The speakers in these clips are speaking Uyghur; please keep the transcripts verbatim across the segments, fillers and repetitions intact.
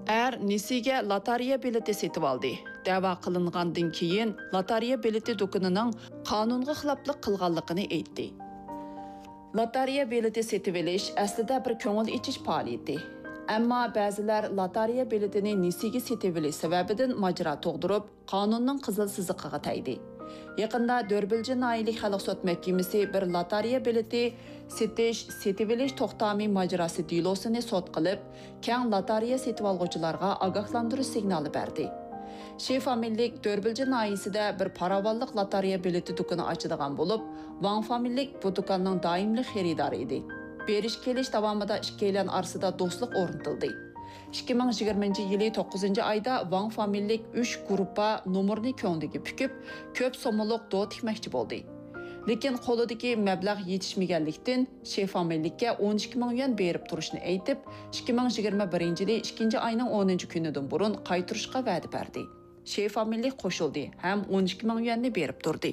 ئەر نېسىگە لاتارىيە بېلىتى سېتىۋالدى. دەۋا قىلىنغاندىن كېيىن، لاتارىيە بېلىتى دۇكىنىنىڭ قانۇنغا خىلاپلىق قىلغانلىقىنى ئېيتتى. لاتارىيە بېلىتى سېتىۋېلىش ئەسلىدە بىر كۆڭۈل ئېچىش پائالىيىتى. ئەمما بەزىلەر لاتارىيە بېلىتىنى نېسىگە سېتىۋېلىش سەۋەبىدىن ماجىرا تۇغدۇرۇپ، قانۇننىڭ قىزىل سىزىقىغا تەگدى. يېقىندا دۆربىلجى ناھىيەلىك خەلق سوت مەھكىمىسى بىر لاتارىيە بېلىتى سېتىش، سېتىۋېلىش توختامى ماجىراسى دېلوسىنى سوت قىلىپ، كەڭ لاتارىيە سېتىۋالغۇچىلارغا ئاگاھلاندۇرۇش سىگنالى بەردى. شې فامىلىلىك دۆربىلجى ناھىيەسىدە بىر پاراۋانلىق لاتارىيە بېلىتى دۇكىنى ئاچىدىغان بولۇپ، ۋاڭ فامىلىلىك بۇ دۇكاننىڭ دائىملىق خېرىدارى ئىدى. بېرىش كېلىش داۋامىدا ئىككىيلەن ئارىسىدا دوستلۇق ئورنىتىلدى. ئىككى مىڭ يىگىرمىنچى يىلى توققۇزىنچى ئايدا ۋاڭ فامىلىلىك ئۈچ گۇرۇپپا نومۇرنى كۆڭلىگە پۈكۈپ، كۆپ سوممىلىق دو تىكمەكچى بولدى. لېكىن قولىدىكى مەبلەغ يېتىشمىگەنلىكتىن، شې فامىلىلىككە ئون ئىككى مىڭ يۈەن بېرىپ تۇرۇشنى ئېيتىپ، ئىككى مىڭ يىگىرمە بىرىنچى يىلى ئىككىنچى ئاينىڭ ئونىنچى كۈنىدىن بۇرۇن قايتۇرۇشقا ۋەدە بەردى. شې فامىلىلىك قوشۇلدى ھەم ئون ئىككى مىڭ يۈەننى بېرىپ تۇردى.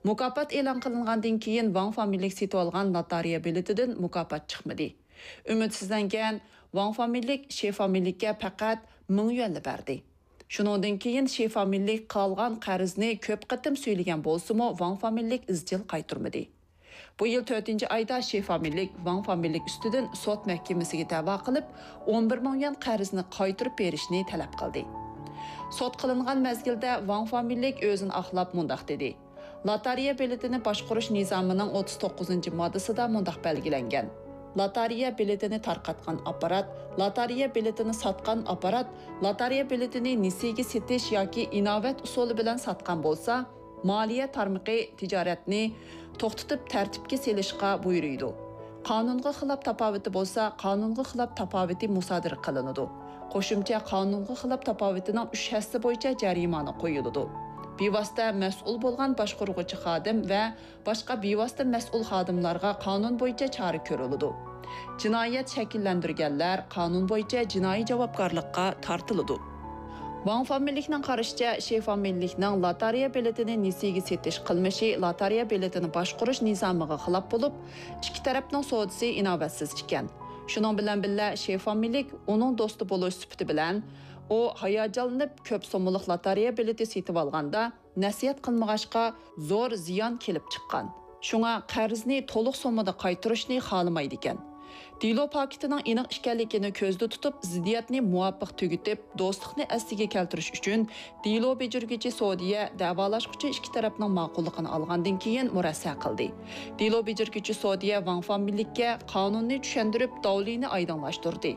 مۇكاپات ئېلان قىلىنغاندىن كېيىن، ۋاڭ فامىلىلىك سېتىۋالغان لاتارىيە بېلىتىدىن مۇكاپات چىقمىدى. ئۈمىدسىزلەنگەن ۋاڭ فامىلىلىك شې فامىلىلىككە پەقەت مىڭ يۈەنلا بەردى. شۇنىڭدىن كېيىن شې فامىلىلىك قالغان قەرزنى كۆپ قېتىم سۈيلىگەن بولسىمۇ، ۋاڭ فامىلىلىك ئىزچىل قايتۇرمىدى. بۇ يىل تۆتىنچى ئايدا شې فامىلىلىك ۋاڭ فامىلىلىك ئۈستىدىن سوت مەھكىمىسىگە دەۋا قىلىپ، ئون بىر مىڭ يۈەن قەرزنى قايتۇرۇپ بېرىشنى تەلەپ قىلدى. سوت قىلىنغان مەزگىلدە ۋاڭ فامىلىلىك ئۆزىنى ئاقلاپ مۇنداق دېدى: لاتارىيە بېلىتىنى باشقۇرۇش نىزامىنىڭ ئوتتۇز توققۇزىنچى ماددىسىدا مۇنداق بەلگىلەنگەن: لاتارىيە بېلىتىنى تارقاتقان ئاپپارات، لاتارىيە بېلىتىنى ساتقان ئاپپارات، لاتارىيە بېلىتىنى نېسىگە سېتىش ياكى ئىناۋەت ئۇسۇلى بىلەن ساتقان بولسا، مالىيە تارمىقى تىجارەتنى توختىتىپ تەرتىپكە سېلىشقا بۇيرۇيدۇ. قانۇنغا خىلاپ تاپاۋىتى بولسا، قانۇنغا خىلاپ تاپاۋىتى مۇسادىرە قىلىنىدۇ. قوشۇمچە قانۇنغا خىلاپ تاپاۋىتىنىڭ ئۈچ ھەسسە بويىچە جەرىمانە قويۇلىدۇ. بىۋاسىتە مەسئۇل بولغان باشقۇرغۇچى خادىم ۋە باشقا بىۋاسىتە مەسئۇل خادىملارغا قانۇن بويىچە چارە كۆرۈلىدۇ. جىنايەت شەكىللەندۈرگەنلەر قانۇن بويىچە جىنايى جاۋابكارلىققا تارتىلىدۇ. ۋاڭ فامىلىلىكنىڭ قارىشىچە، شې فامىلىلىكنىڭ لاتارىيە بېلىتىنى نېسىگە سېتىش قىلمىشى لاتارىيە بېلىتىنى باشقۇرۇش نىزامىغا خىلاپ بولۇپ، ئىككى تەرەپنىڭ سودىسى ئىناۋەتسىز ئىكەن. شۇنىڭ بىلەن بىللە، شې فامىلىلىك ئۇنىڭ دوستى بولۇش سۈپىتى بىلەن، ئۇ ھاياجانلىنىپ كۆپ سوممىلىق لاتارىيە بېلىتى سېتىۋالغاندا، نەسىھەت قىلمىغاچقا، زور زىيان كېلىپ چىققان. شۇڭا قەرزنى تولۇق سوممىدا قايتۇرۇشنى خالىمايدىكەن. دېلو پاكىتىنىڭ ئېنىق ئىكەنلىكىنى كۆزدە تۇتۇپ، زىددىيەتنى مۇۋاپىق تۈگىتىپ، دوستلۇقنى ئەسلىگە كەلتۈرۈش ئۈچۈن، دېلو بېجىرگۈچى سودىيە دەۋالاشقۇچى ئىككى تەرەپنىڭ ماقۇللۇقىنى ئالغاندىن كېيىن مۇرەسسە قىلدى. دېلو بېجىرگۈچى سودىيە ۋاڭ فامىلىلىككە قانۇننى چۈشەندۈرۈپ، داۋلىنى ئايدىڭلاشتۇردى.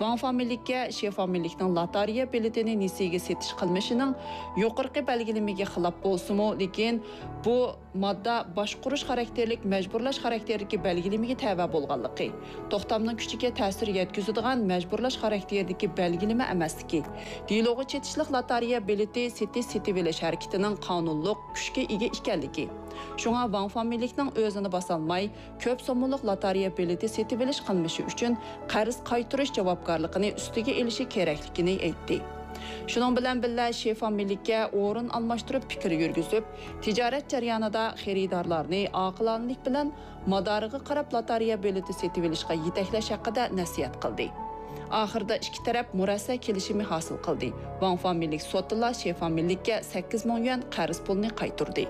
ۋاڭ فامىلىلىككە شې فامىلىلىكنىڭ لاتارىيە بېلىتىنى نېسىگە سېتىش قىلمىشىنىڭ يۇقىرىقى بەلگىلىمىگە خىلاپ بولسىمۇ، لېكىن بۇ ماددا باشقۇرۇش خاراكتېرلىك، مەجبۇرلاش خاراكتېرىدىكى بەلگىلىمىگە تەۋە بولغانلىقى، توختامنىڭ كۈچىگە تەسىر يەتكۈزىدىغان مەجبۇرلاش خاراكتېرىدىكى بەلگىلىمە ئەمەسلىكى، دېلوغا چېتىشلىق لاتارىيە بېلىتى سېتىش-سېتىۋېلىش ھەرىكىتىنىڭ قانۇنلۇق كۈچكە ئىگە ئىكەنلىكى، شۇڭا ۋاڭ فامىلىلىكنىڭ ئۆزىنى باسالماي، كۆپ سوممىلىق لاتارىيە بېلىتى سېتىۋېلىش قىلمىشى ئۈچۈن قەرز قايتۇرۇش جاۋابكارلىقىنى ئۈستىگە ئېلىشى كېرەكلىكىنى ئېيتتى. شۇنىڭ بىلەن بىللە، شې فامىلىلىككە ئورۇن ئالماشتۇرۇپ پىكىر يۈرگۈزۈپ، تىجارەت جەريانىدا خېرىدارلارنى ئاقىلانىلىك بىلەن مادارىغا قاراپ لاتارىيە بېلىتى سېتىۋېلىشقا يېتەكلەش ھەققىدە نەسىھەت قىلدى. ئاخىرىدا ئىككى تەرەپ مۇرەسسە كېلىشىمى ھاسىل قىلدى. ۋاڭ فامىلىلىك سوتتىلا شې فامىلىلىككە سەككىز مىڭ يۈەن قەرز پۇلنى قايتۇردى.